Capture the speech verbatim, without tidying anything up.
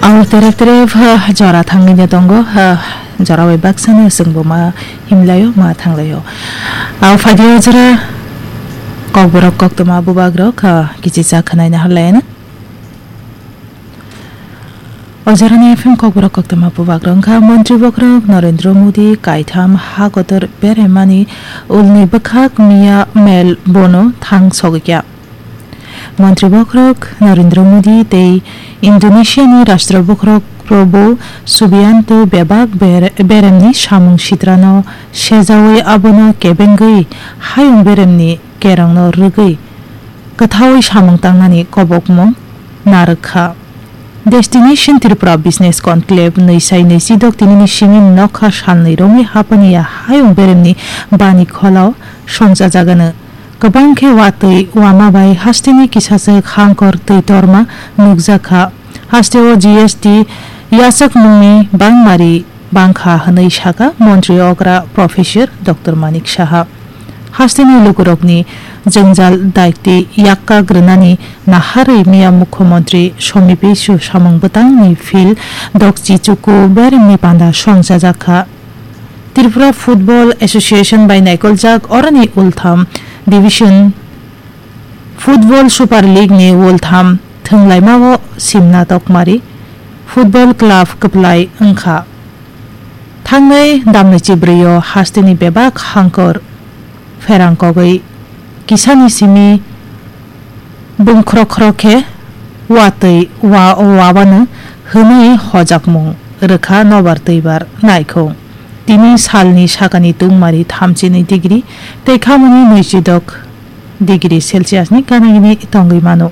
Ang terep terep, ha, jora thangwi no tongo, ha, jora bai baksa no chwng bo ma himlai o, ma thanglai o. Ang phaidi o jora kokborok koktwma bubak rok, ha, kichi cha khwnai na halai no. O jora ni F M kokborok koktwma bubak rok wngkha Montri bokhorok Narendra Modi kaitham ha kotor beremani ulni bwkhak miya mel bono thang sogwi kha. Montri bokhorok Narendra Modi tei Indonesia ni Rashtra bokhorok Prabowo Subianto bebak ber-, beremni samung sitrano sejawi abono kebengwi hayung beremni kerongno rwgwi kwthawi samung tangnani kobokmung narwk kha. Destination Tripura Business Conclave nwi sai nwi chidok tinini simi nokha salnwi romwi hapaniya hayung beremni bani kholao songchajagano. Kwbang khe watwi wama bai hasteni kisachwk hangkor twi torma nukjakha. Hasteo G S T yachakmungni bangmari bangkha hwnwi sakha Montri okra Professor Doctor Manik Saha. Hasteni lukurokni jwngjal daikti yakkak rwnani naharwi miya Mukhyamantri Somi Bisu samung bwtangni phil dokchi chuku beremni panda songchajakha. Tripura Football Association bai naikoljak oroni ultham division Football Super League ni ultham thwnglaimao simna tokmari Football Club kwplai wngkha. Thangnai damni chibrwi o hasteni bebak hangkor pherang kogwi kisani simi bungkhro khro khe watwi wa-, wabano hwnwi hojakmung rwkha nobar twibar naikhung. Tini salni sakani tungmari thamchinwi degree tei khamani nwichidok degree Celsius ni gana gini tongwi mano.